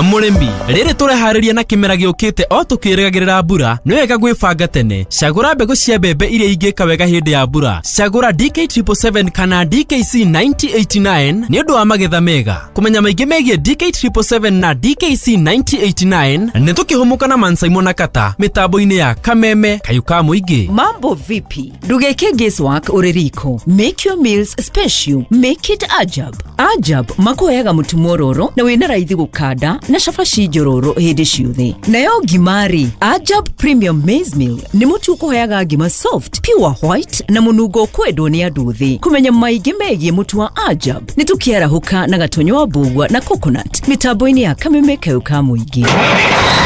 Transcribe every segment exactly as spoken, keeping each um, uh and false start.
Mũrĩmi, rĩrĩ tũreharĩria na kĩmera gĩũkĩte o tũkĩrĩgagĩrĩra mbura, nĩ wega gwĩbanga tene. Cagũra mbegũ cia mbembe iria ingĩka wega hĩndĩ ya mbura. Cagũra D K triple seven kana D K C mĩrongo ĩnana na kenda nĩ ũndũ wa magetha mega. Kũmenya maingĩ megiĩ D K triple seven na D K C mĩrongo ĩnana na kenda, nĩ tũkĩhũmũka na Mansaimo na Kata mĩtambo-inĩ ya Kameme Kayũ ka Mũingĩ. Mambo vipi? Ndugeke guesswork uri riko. Make your meals special. Make it Ajab. Ajab makuheaga mũtu mwororo na wĩna raithi gũkanda na cabaci njororo hĩndĩ ciothe. Nayo ngimari Ajab Premium Maize Meal nĩ mũtu ũkũheaga ngima soft, pure white na mũnungo ũkwendwo nĩ andũ thĩ. Kũmenya maingĩ megiĩ mũtu wa Ajab nĩ tũkĩarahũka na Gatonyo wa Mbũgua na Coconut mĩtambo-inĩ ya Kameme Kayũ ka Mũingĩ.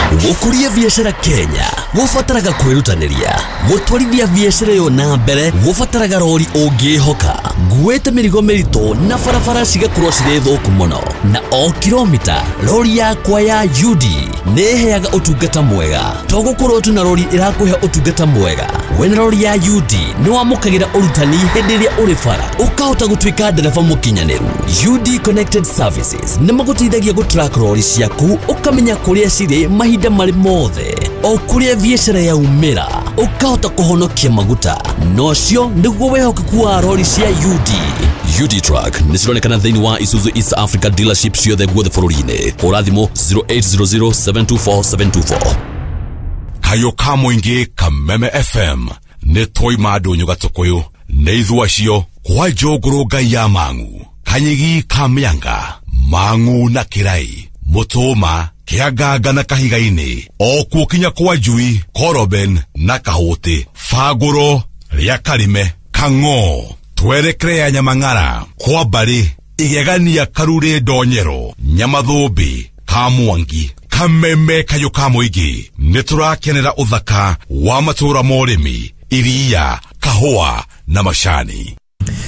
Gũkũria biacara Kenya gũbataraga kwĩrutanĩria. Gũtwarithia biacara ĩyo na mbere gũbataraga rori ũngĩhoka. Nguĩte mĩrigo mĩritũ na barabara cigakorwo cirĩ thũku mũno, na o kilomita rori yakwa ya U D nĩ ĩheaga ũtungata mwega. To gũkorwo tu na rori ĩrakũhe ũtungata mwega, wĩna rori ya U D nĩ wamũkagĩra ũrutani hĩndĩ ĩrĩa ũrĩ bara, ũkahota gũtuĩka ndereba mũkinyanĩru. U D Connected Services nĩ magũteithagia gũtrack rori ciaku, ũkamenya kũrĩa cirĩ mahinda marĩ mothe, o kũrĩa biacara yaumĩra, ũkahota kũhonokia maguta. Na ũcio nĩguo wĩhokeku wa rori cia U D. U D Truck nĩ cironekana thĩinĩ wa Isuzu East Africa dealership ciothe guothe bũrũri-inĩ. Hũra thimũ zero eight zero zero, seven two four, seven two four. Kayũ ka Mũingĩ, Kameme F M, nĩ twaima ndũnyũ gatũkũyũ nĩ ithu acio kwa njũngũrũ ngai ya mang'u kanyigi ka mĩanga mang'u na kĩrai mũtũma kĩanganga na kahiga-inĩ o kuo kinya kwa njui koroben na kahũtĩ bangũro rĩa karime kang'o twerekere ya nyamang'ara kwa mbarĩ igegania karurĩ ndonyero nyamathũmbĩ ka mwangi. Kameme Kayũ ka Mũingĩ, nĩ tũrakenera ũthaka wa matũũra ma ũrĩmi, iria, kahũa na macani.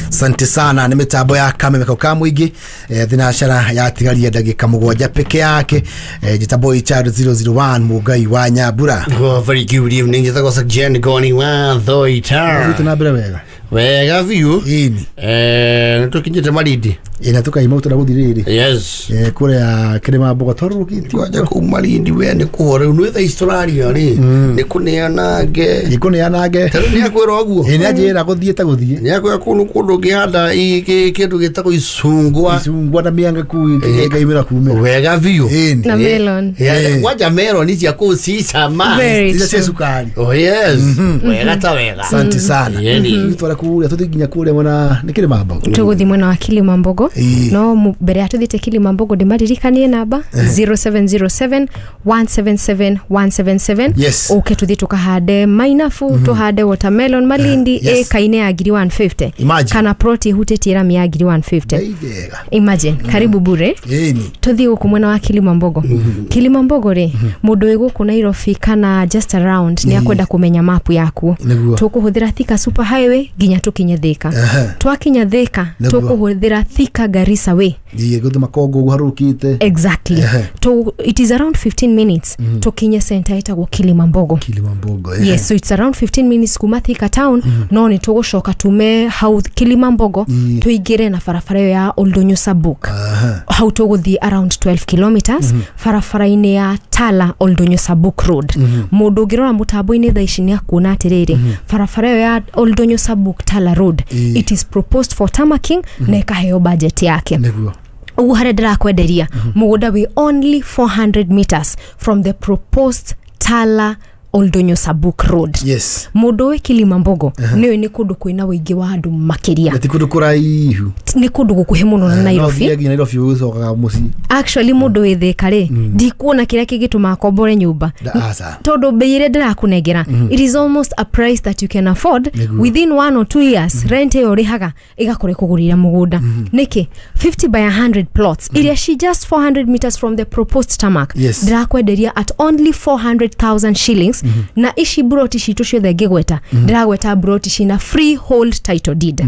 Asante sana. Nĩ mĩtambo ya Kameme ka Mũingĩ. eh, thinacara yatigaria ndagĩka mũgwanja peke yake. eh, njĩtagwo H R zero zero one Mũngai wa Nyambura. Well, very good evening. Njĩtagwo Jen Goni wa Thoita. Thiĩte na mbere wega? Wega biũ. Ĩni. Eh, nĩtũkinyĩte Malindi. Ĩ na tũkaima tũra gũthiĩ rĩrĩ. Yes. Eh, kũrĩa kĩrĩma mbogo twarũrũkĩtie. Kwanja kũu Malindi we nĩ kũho rĩu nĩ thaa ici tũraria rĩ nĩ kũneanange. Nĩ kũneanange. Tarĩu nĩ akwĩra ũguo. Ĩ nĩ anjĩra gũthiĩ ta gũthiĩ. Nĩ akwĩra kũu nĩ kũndũ ũngĩhanda i- kĩ- kĩndũ gĩtagwo icungwa. Icungwa na mĩanga kuu ĩkaimĩra kumĩra. Wega biũ. Ĩni. Na melon. Yeah, kwanja melon cia kũu ci cama. Very iria cia true. cukari. Oh yes. Wega ta wega. Asante sana. Yeni. Twara kũrĩa tũthiĩ nginya kũrĩa mwena nĩ kĩrĩma mbogo. Tũgũthiĩ mwena wa Kilimambogo. Ĩĩ. No mu- mbere ya tũthiĩte Kilimambogo, ndĩmaririkanie namba zero seven zero seven one seven seven one seven seven. Yes. Ũke tũthiĩ tũkahande mainabu, tũhande watermelon Malindi. Yes. Ĩka-inĩ ya ngiri igana rĩa mĩrongo ĩtano. Imagine. Kana plot ĩhutĩtie rami ya ngiri igana rĩa mĩrongo ĩtano. Ngai njega. Imagine, karibu bure. Ĩni. Tũthiĩ gũkũ mwena wa Kilimambogo. Kilimambogo rĩ, mũndũ wĩ gũkũ Nairobi kana just around nĩ akwenda kũmenya mapu yakuo. Nĩguo. Tũkũhũthĩra Thika Super Highway nginya tũkinye Thika. Ehe. Twakinya Thika, Nĩguo. tũkũhũthĩra Thika Garissa Way. Thiĩ gũthiĩ makongo ũguo harũrũkĩte. Exactly. Ehe. To, it is around fifteen minutes tũkinye center ĩtagwo Kilimambogo. Kilimambogo, ehe. Yes, so it's around fifteen minutes kuma Thika town. No nĩ tũgũcoka tume hau Kilimambogo, Ii. tũingĩre na barabara ĩyo ya Oldonyo Sabuk. Aha. Hau tũgũthiĩ around twelve kilometers barabara-inĩ ya Tala Oldonyo Sabuk Road. Mũndũ ũngĩrora mũtambo-inĩ thaa ici nĩ akuona atĩrĩrĩ, barabara ĩyo ya Oldonyo Sabuk Tala Road, Ii. it is proposed for tarmacking na ĩkaheo budget yake. Nĩguo. Ũguo harĩa ndĩrakwenderia mũgũnda wĩ only four hundred meters from the proposed Tala Oldonyo Sabuk Road. Yes Mũndũ wĩ Kilimambogo nĩũĩ nĩ kũndũ kwĩna ũingĩ wa andũ makĩria. Na ti kũndũ kũraihu. Nĩ kũndũ gũkuhĩ mũno na Nairobi. No nginya Nairobi ũgĩcokaga mũciĩ. Actually, mũndũ wĩ Thĩka rĩ, ndikuona kĩrĩa kĩngĩtũma akombore nyũmba, Da- aca. tondũ bei ĩrĩa ndĩrakũnengera, it is almost a price that you can afford. Nĩguo. Within one or two years, rent ĩyo ũrĩhaga ĩgakorwo ĩkũgũrĩra mũgũnda. Nĩkĩ fifty by one hundred plots iria she just four hundred meters from the proposed tarmac, Yes. ndĩrakwenderia at only four hundred thousand shillings. Na ici broti citũ ciothe ngĩgweta, ndĩragweta broti cina freehold title deed.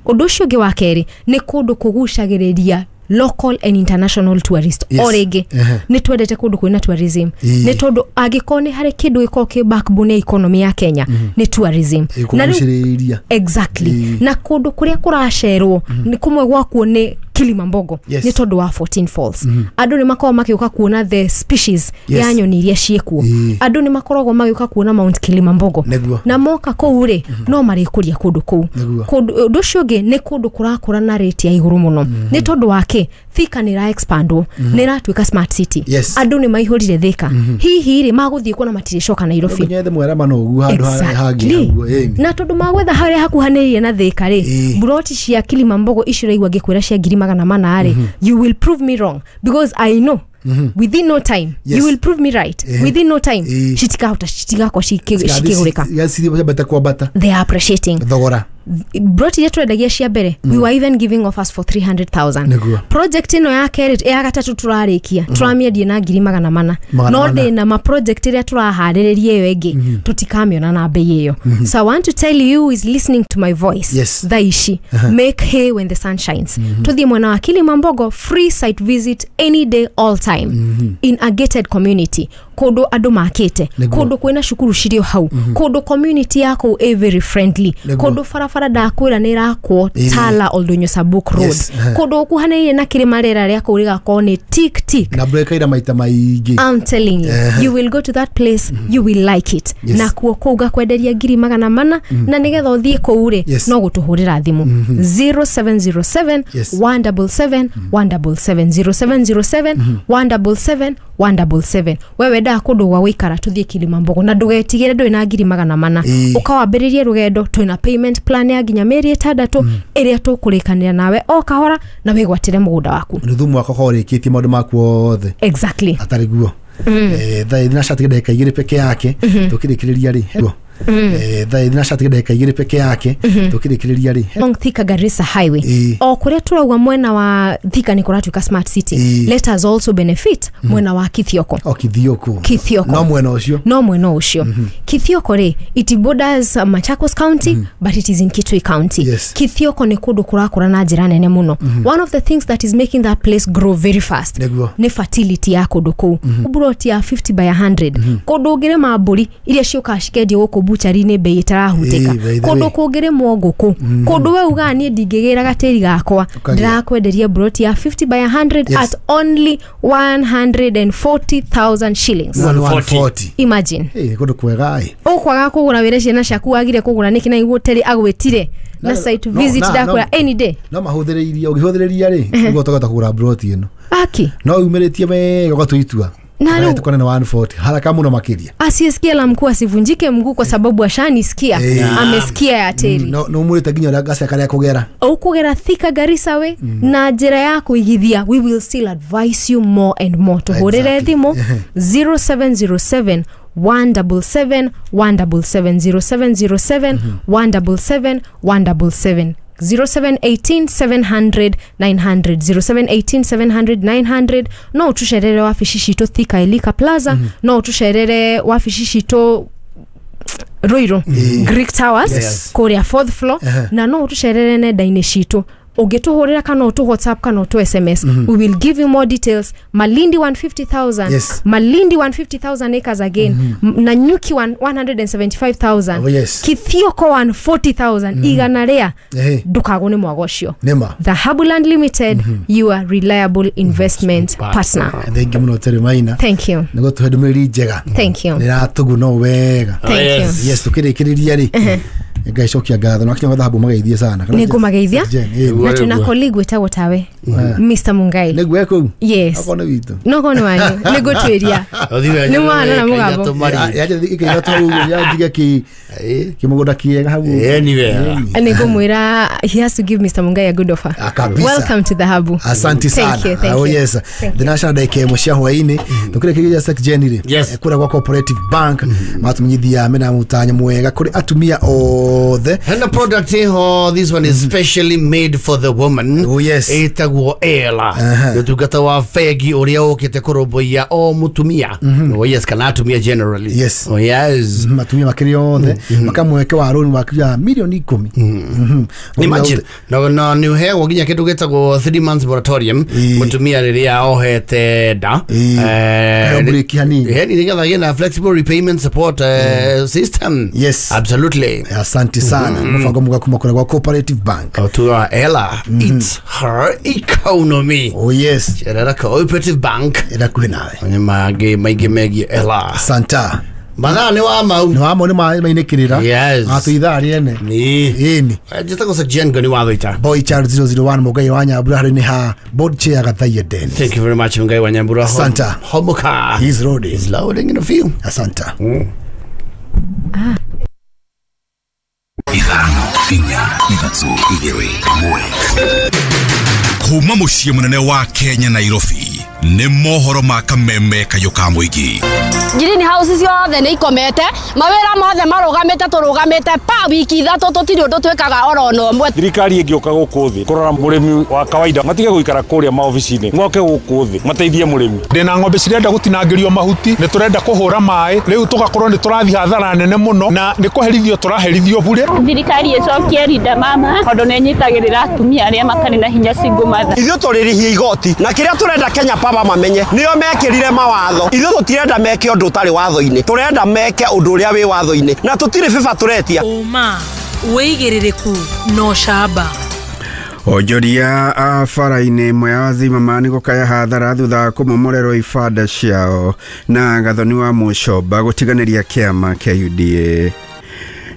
Ũndũ ũcio ũngĩ wa kerĩ, nĩ kũndũ kũgucagĩrĩria local and international tourist. Yes. O rĩngĩ, Ehe. nĩ twendete kũndũ kwĩna tourism, Ĩĩ. nĩ tondũ angĩkorwo nĩ harĩ kĩndũ gĩkoragwo kĩ backbone ya economy ya Kenya, nĩ tourism. Na rĩu kũgucĩrĩria. Exactly. Ĩĩ. Na kũndũ kũrĩa kũracerwo nĩ kũmwe gwakuo nĩ Kilimambogo Yes. nĩ tondũ wa fourteen Falls. Andũ nĩ makoragwo magĩũka kuona the species Yes. ya nyoni iria ciĩkuo. Ĩĩ. Andũ nĩ makoragwo magĩũka kuona Mount Kilimambogo. Nĩguo. Na moka kũu rĩ, no marĩkũria kũndũ kũu. Nĩguo. Kũndũ ũndũ ũcio ũngĩ nĩ kũndũ kũrakũra na rate ya igũrũ mũno. Nĩ tondũ wa kĩ? Thika nĩ ĩra expandwo, nĩ ĩratuĩka smart city. Yes. Andũ nĩ maihũrire Thika. Hihi rĩ, magũthiĩ kuona matirĩcoka Nairobi. Nyethe mwerama no ũguo handũ harĩa hangĩ Exactly. haguo, ĩni. Na tondũ magwetha harĩa hakuhanĩrĩirie na Thika rĩ, Ĩĩ. mburoti cia Kilimambogo icio ũraigua ngĩkwĩra cia ngiri magana mana rĩ, you will prove me wrong because I know within no time Yes. you will prove me right. Ehe. Within no time Ĩĩ. citikahota citigakorwo cikĩgũrĩka. Ciambata kwambata They are appreciating thogora. Broti iria twendagia cia mbere, we were even giving offers for three hundred thousand. Nĩguo. Project ĩno ya kerĩ, ya gatatũ tũrarĩkia, tũramĩendia na ngiri magana mana. Magana No mana. ndĩna ma project ĩrĩa tũraharĩrĩria ĩyo ĩngĩ, tũtikamĩona na bei ĩyo. So I want to tell you who is listening to my voice Yes. thaa ici, make hay when the sun shines. Tũthiĩ mwena wa Kilimambogo, free site visit any day all time in a gated community, kũndũ andũ makĩte, Nĩguo. kũndũ kwĩna cukuru cirĩ o hau, kũndũ community ya kũu ĩ very friendly, Nĩguo. kũndũ barabara ndakwĩra nĩ ĩrakwo Ĩĩ. Tala Oldonyo Sabuk Road. Yes, eh. Kũndũ gũkuhanĩrĩirie na kĩrĩma, rĩera rĩa kũu rĩgakorwo nĩ tik tik. Na mbura ĩkaira maita maingĩ. I'm telling you, you will go to that place, you will like it. Yes. Na kuo kũu ngakwenderia ngiri magana mana, na nĩgetha ũthiĩ kũu rĩ, Yes. no gũtũhũrĩra thimũ zero seven zero seven Yes. one double seven one double seven, zero seven zero seven one double seven one double seven. We wendaga kũndũ gwa gũikara, tũthiĩ Kilimambogo na ndũgetigĩre ndũrĩ na ngiri magana mana. Ĩĩ. Ũkawambĩrĩrie rũgendo, twĩna payment plan ya nginya mĩeri ĩtandatũ ĩrĩa tũkũrĩkanĩra nawe o kahora na wĩgwatĩre mũgũnda waku. Nuthu mwaka ũkorwo ũrĩkĩtie maũndũ maku othe. Exactly. Atarĩ guo. Eh, thaa thina cati ndagĩka igĩrĩ peke yake tũkĩrĩkĩrĩria rĩ. Eh, thaa thina cati ndagĩka igĩrĩ peke yake tũkĩrĩkĩrĩria rĩ. Along Thika Garissa Highway. Ĩĩ. O kũrĩa tũrauga mwena wa Thika nĩ kũratuĩka smart city. Ĩĩ. Let us also benefit mwena wa Kithioko. O Kithioko. Kithioko. No mwena ũcio. No mwena ũcio. Kithioko rĩ, it borders uh, Machakos County, but it is in Kitui County. Yes. Kithioko nĩ kũndũ kũrakũra na njĩra nene mũno. One of the things that is making that place grow very fast Nĩguo. nĩ fertility ya kũndũ kũu. Mburoti ya fifty by a hundred. Kũndũ ũngĩrĩma mbũri iria ciũkaga cikendio gũkũ buchari-inĩ bei ĩtarahutĩka. Ĩĩ, by the Kũndũ way. kũngĩrĩmwo ngũkũ. Kũndũ we ugaga niĩ ndingĩgĩra gatĩri gakwa, Ũkagĩa. ndĩrakwenderia mburoti ya fifty by a hundred Yes. at only one hundred and forty thousand shillings. one forty. Imagine. Ĩĩ, nĩ kũndũ kwega ĩ. Ũkwaga kũgũra wĩre ciana ciaku wagire kũgũra nĩkĩ na iguo terĩ agwĩtire na No, site no, visit na- ndakwĩra no. any day. No mahũthĩrĩirie, ũngĩhũthĩrĩria rĩ, nĩguo ũtagota kũgũra mburoti ĩno. Aki. No umĩrĩtie wega ũgatua itua. Na rĩu- Tukone na one forty haraka mũno makĩria. Asiyesikia la mkuu asivunjike mguu kwa sababu ashanisikia. Eh. Amesikia ya teri. No no umũrĩte nginya ũrĩa gacĩra karĩa kũgera. Ũkũgera Thika Garissa we na njĩra ya kũigithia, we will still advise you more and more. Tũhũrĩre Exactly. thimũ zero seven zero seven one double seven one double seven, zero seven zero seven one double seven one double seven, zero seven eighteen seven hundred nine hundred, zero seven eighteen seven hundred nine hundred. No ũtũcerere wabici citũ Thika Elika Plaza, no ũtũcerere wabici citũ Ruiru Greek Towers Yes. kũrĩa fourth floor, na no ũtũcerere nenda-inĩ citũ. Ũngĩtũhũrĩra kana ũtũ WhatsApp kana ũtũ S M S, we will give you more details. Malindi one fifty thousand. Yes. Malindi one fifty thousand acres again. Mm-hmm. Nanyuki one hundred seventy-five thousand. Oh, yes. Kithioko one forty thousand. Mm-hmm. Igana rĩa ndũkagwo nĩ mwago ũcio. Nĩma. Dhahabu Land Limited, mm-hmm. your reliable investment partner. Thank you mũno Terry Maina. Thank you. Nĩguo tũhe ndũmĩrĩri njega. Thank you. Nĩ ratũguna wega. Thank you. Yes, tũkĩrĩkĩrĩria rĩ. Ngai cokia ngatho na kinya thahabu mageithie sana. Nĩ ngũmageithia. Na twĩna colleague wĩtagwo tawe Mister Mungai. Nĩguo kũu. Yes. Okorwo nĩ witũ. No korwo nĩ wanyu. Nĩ ngũtuĩria. Nĩ mwana na mũgambo. Yaje ikaithatũ hau yanjige ki kĩmũgũnda kĩega hau. Anyway. Nĩ ngũmwĩra he has to give Mister Mungai a good offer. Kabisa. Welcome to Dhahabu. Asante sana. Thank you, thank oh, you. Yes. Ndinacana ndagĩka ĩmwe cia hwaĩ-inĩ. Tũkĩrĩkĩrĩria Sek Jenny rĩ. Yes. Kũrĩa gwa Cooperative Bank matumenyithia mena mũtanyo mwega kũrĩ atumia othe. And the product here, this one is specially made for the woman. Oh, yes. Ĩtagwo Ela. Ũtungata wa bengi ũrĩa ũkĩte kũrũmbũiya o mũtumia. Oh yes, kana atumia generally. Yes. Oh yes. Atumia makĩria othe makamweke wa rũni wa milioni ikũmi. Imagine. No no nĩ ũheagwo nginya kĩndũ gĩtagwo three months moratorium mũtumia rĩrĩa ohete nda. Eh, break hanini. Nĩgetha agĩe na flexible repayment support system. Yes. Absolutely. Asante sana. Mũbango mwega kuma kũrĩa gwa Cooperative Bank. O tuga Ella, it's her economy. Oh yes. Cerera Cooperative Bank. Ĩra kuhĩ nawe. Onye mangĩ maingĩ megiĩ Ella. Asanta. Mathaa nĩ wa mau. Nĩ wa mau nĩ mainĩkĩrĩra. Yes. Atũ ithaa rĩene. Nĩ. Ĩni. Njĩtagwo Sir Jen Ngoni wa Thũita. Boy Child zero zero one Mũngai wa Nyambura harĩ nĩ ha board chair Gathaiya Dennis. Thank you very much Mũngai wa Nyambura. Asanta. Homoka. He's loading. He's loading in a few. Asanta. Mm. Ah. Ithano, inya, ithatũ, igĩrĩ, ĩmwe. Kuma mũciĩ mũnene wa Kenya Nairobi nĩ mohoro ma kameme kayũ ka mũingĩ. Green house ciothe nĩ ikomete, mawĩra mothe marũgamĩte, tũrũgamĩte pa wiki ithatũ tũtirĩ ũndũ twĩkaga oro na ũmwe. Thirikari ĩngĩũka gũkũ thĩ kũrora mũrĩmi wa kawaida matige gũikara kũrĩa maobici-inĩ, moke gũkũ thĩ mateithie mũrĩmi. Ndĩna ng'ombe cirenda gũtinangĩrio mahuti, nĩ tũrenda kũhũra maĩ, rĩu tũgakorwo nĩ tũrathiĩ hathara nene mũno na nĩ kũherithio tũraherithio bure. Thirikari ĩcokie Linda Mama tondũ nĩ ĩnyitagĩrĩra atumia arĩa matarĩ na hinya single mother. Ithuĩ tũrĩrĩhia igoti na kĩrĩa tũrenda Kenya Power mamenye nĩo mekĩrire mawatho. Ithuĩ tũtirenda meke ũndũ ũtarĩ watho-inĩ, tũrenda meke ũndũ ũrĩa wĩ watho-inĩ na tũtirĩ bĩba tũretia. Ũma, wĩigĩrĩrĩku na ũcamba. Onjoria a bara-inĩ ĩmwe ya Zimmerman gũkaya hathara thutha wa kũmomorerwo ibanda ciao na Gathoni wa Mũcomba gũtiganĩria kĩama kĩa U D A.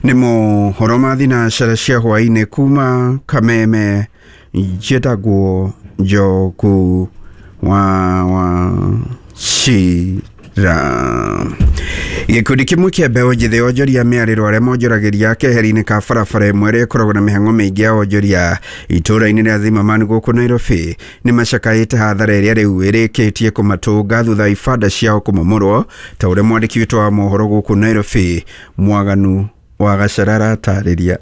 Nĩ mohoro ma thinacara cia hwaĩ-inĩ kuma Kameme, njĩtagwo Njoku wa wa Cira. Gĩkundi kĩmwe kĩa mbeũ njĩthĩ onjoria mĩarĩro arĩa monjoragĩria keheri-inĩ ka barabara ĩmwe ĩrĩa ĩkoragwo na mĩhang'o mĩingĩ ya onjoria itũũra-inĩ rĩa Zimmerman gũkũ Nairobi nĩ macakaĩte hathara ĩrĩa rĩu ĩrĩkĩtie kũmatũnga thutha wa ibanda ciao kũmomorwo ta ũrĩa mwandĩki witũ wa mohoro gũkũ Nairobi Mwaganu wa Gacarara atarĩria.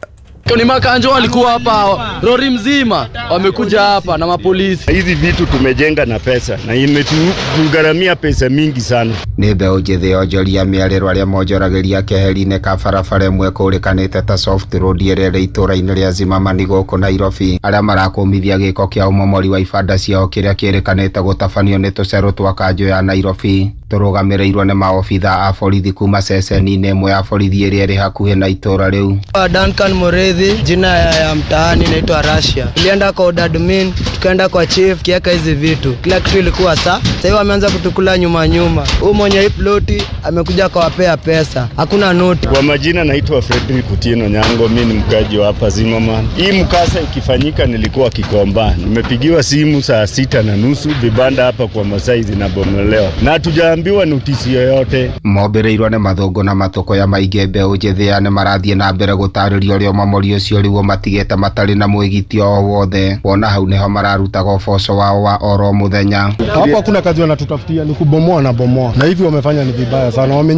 Ni makanjo walikuwa hapa, lori mzima wamekuja hapa na mapolisi. Hizi vitu tumejenga na pesa na imetugharamia pesa mingi sana. Nĩ mbeũ njĩthĩ onjoria mĩarĩro arĩa monjoragĩria keheri-inĩ ka barabara ĩmwe kũrĩkanĩte ta Soft Road ĩrĩa ĩrĩ itũũra-inĩ rĩa Zimmerman gũkũ Nairobi arĩa marakũmithia gĩko kĩa ũmomori wa ibanda ciao kĩrĩa kĩrĩkanĩte gũtabanio nĩ tũcerũ twa kanjũ ya Nairobi tũrũgamĩrĩirwo nĩ maobitha a borithi kuma ceceni-inĩ ĩmwe ya borithi ĩrĩa ĩrĩ hakuhĩ na itũũra rĩu. Duncan Mureithi, jina ya, ya mtaani naitwa Russia. Tulienda kwa admin, tukaenda kwa chief kiaka hizi vitu. Kila kitu ilikuwa saa. Sasa wameanza kutukula nyuma nyuma. Huyu mwenye hii ploti amekuja kawapea pesa. Hakuna noti. Kwa majina naitwa Frederick Otieno Nyango, mimi ni mkaji wa hapa Zimmerman. Hii mkasa ikifanyika nilikuwa Kikomba. Nimepigiwa simu saa sita na nusu vibanda hapa kwa Masai zinabomolewa. Na hatujaambiwa notisi yoyote. Mombĩrĩirwo nĩ mathũngũ na matũkũya maingĩ mbeũ njĩthĩ aya nĩ marathiĩ na mbere gũtarĩria ũrĩa ũmomori ũcio rĩu ũmatigĩte matarĩ na mwĩgitio o wothe wona hau nĩho mararutaga ũboco wao wa oro mũthenya. Hapo hakuna kazi wanatutafutia, ni kubomoa na bomoa, na hivi wamefanya ni vibaya sana. Wame